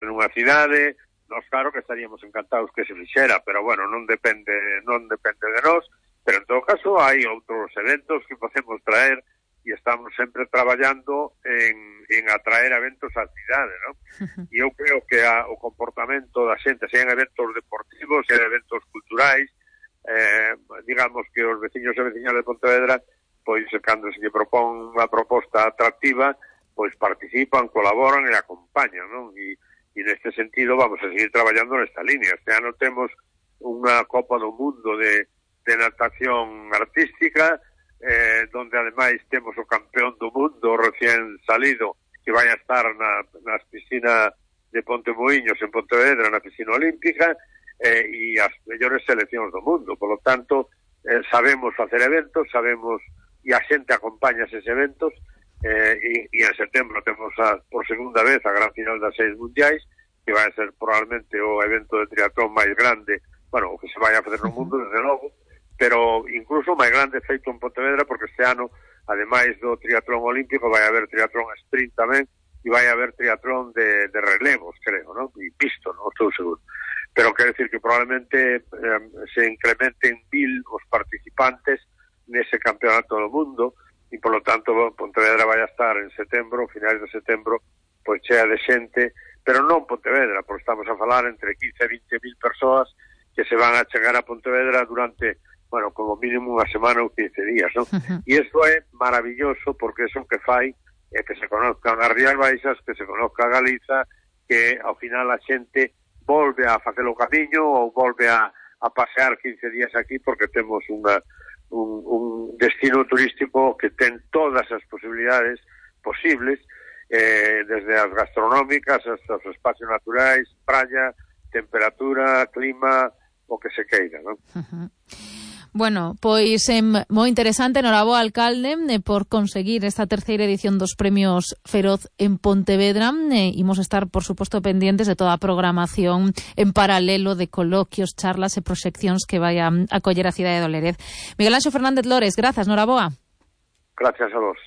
nunha cidade, nós claro que estaríamos encantados que se fixera, pero bueno, non depende de nós, pero en todo caso hai outros eventos que podemos traer e estamos sempre traballando en atraer eventos á cidade, non? E eu creo que o comportamento da xente, sean eventos deportivos, sean eventos culturais, digamos que os veciños e veciñas de Pontevedra, pois cando se lle propón unha proposta atractiva, pois participan, colaboran e acompañan, non? E neste sentido vamos a seguir traballando nesta línea. Este ano temos unha Copa do Mundo de natación artística, donde ademais temos o campeón do mundo recién salido, que vai a estar nas piscinas de Pontemoinhos en Pontevedra, na piscina olímpica, e as mellores seleccións do mundo. Por lo tanto, sabemos facer eventos, sabemos, e a xente acompaña eses eventos, e en setembro temos por segunda vez a gran final das 6 mundiais, que vai a ser probablemente o evento de triatlón máis grande, bueno, o que se vai a facer no mundo, desde logo, pero incluso máis grande feito en Pontevedra, porque este ano, ademais do triatlón olímpico, vai haber triatlón sprint tamén, e vai haber triatlón de relevos, creo, non? E pisto, non estou seguro. Pero quero decir que probablemente se incrementen 1000 os participantes nese campeonato do mundo, e por lo tanto Pontevedra vai a estar en setembro, finais de setembro, pois chea de xente, pero non Pontevedra, porque estamos a falar entre 15 e 20.000 persoas que se van a chegar a Pontevedra durante, bueno, como mínimo unha semana ou 15 días, non? E isto é maravilloso, porque iso que fai é que se conozcan as Rías Baixas, que se conozca Galiza, que ao final a xente volve a facer o camiño ou volve a pasear 15 días aquí, porque temos un destino turístico que ten todas as posibilidades posibles, desde as gastronómicas hasta os espacios naturais, praia, temperatura, clima, o que se queira, non? Bueno, pois moi interesante, noraboa alcalde por conseguir esta terceira edición dos Premios Feroz en Pontevedra. Imos estar, por suposto, pendientes de toda a programación en paralelo de coloquios, charlas e proxeccións que vai a acoller a cidade de Olerez. Miguel Anxo Fernández Lores, grazas, noraboa. Gracias a vos.